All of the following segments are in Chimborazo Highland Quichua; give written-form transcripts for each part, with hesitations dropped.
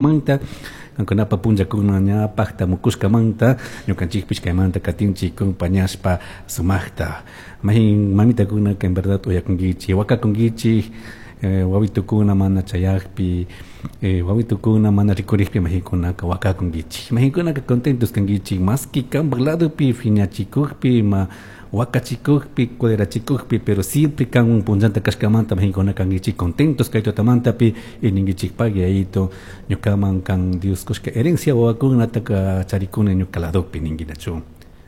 Manta kankunapa punllakuna ña pajtamukushkamanta ñukanchikpish kaymanta katinchik compañashpa sumajta mayjin mamitakunaka en verdad uyakunkichik wakakunkichik wawitukuna mana chayakpi wawitukuna mana rikurikpi mayjinkunaka wakakunkichik mayjinkunaka contentos kankichik maski kanpak ladopi phiñachikukpi ima wakachikukpi culerachikukpi pero siempre kanwan punllanta kashkamanta mayjinkuna kankichik contentos kay tutamantapi y ninkichik pagui yayito ñukaman kan Dios kushka herencia wawakunataka charikuni ñuka ladopi ninkinachu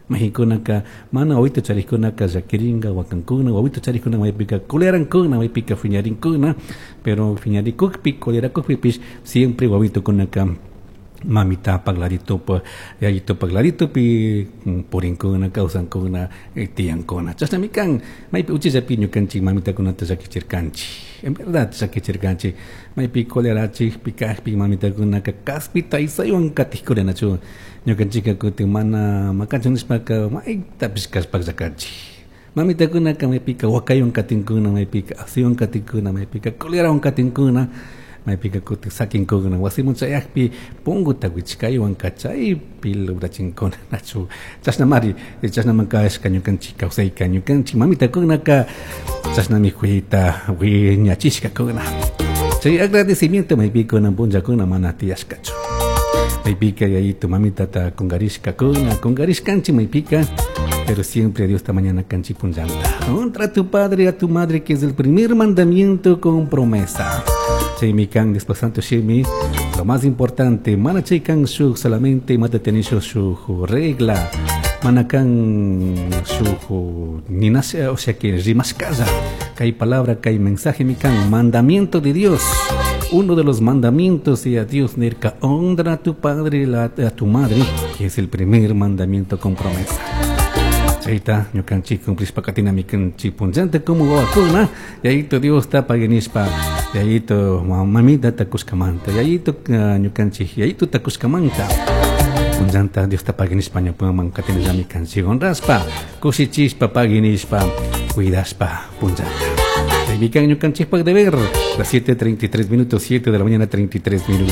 mayjinkunaka mana wawito charikkunaka llakirinka wakankuna wawito charikkuna maypika culerankuna maypika phiñarinkuna pero phiñarikukpi colerakukpipish siempre wawitukunaka mamitapak laditopak yayitopak laditopi purinkuna kawsankuna tiyankuna chashnami kan maypi uchillapi ñukanchik mamitakunata llakichirkanchik en verdad llakichirkanchik maypi colerachikpi kakpi mamitakunaka kaspita isaywan katikkurinachu ñukanchikka kutin mana makanchik nishpaka maytapish kallpakllakanchik mamitakunaka maypika wakaywan katinkuna maypika asiywan katinkuna maypika colerawan katinkuna maypika kutin sakinkuna wasiman chayakpi punguta wichkaywanka chaypi lograchinkuna nachu chashnamari chashnaman kashka ñukanchik kawsayka ñukanchik mamitakunaka chashnami kuyayta wiñachishkakuna chay agradecimiento maypikuna punllakuna mana tiyashkachu maypika yayito mamitata kungarishkakuna kungarishkanchik maypika pero siempre Dios ta mañana kanchik punllanta honra a tu padre y a tu madre, que es el primer mandamiento con promesa. Chaymi kan después santo shimi lo más importante mana chay kan shuk solamente mata tenisho shuk regla mana kan shuk ninasha o sea que rimashkalla kay palabra kay mensaje mi kan mandamiento de Dios, uno de los mandamientos y a Dios nirka honra a tu padre y a tu madre, que es el primer mandamiento con promesa. Chayta ñukanchik cumplishpa katinami kanchik punllanta como wawakuna yayito Dios ta paguinishpa yayito mamita takushkamanta yayito ñukanchik yayito takushkamanta punllanta Dios ta paguinishpa ñupaman katinallami kanchik honrashpa kushichishpa paguinishpa cuidashpa punllanta. Chaymi kan ñukanchikpak deber las 7:33 minutos, 7 de la mañana 33 minutos.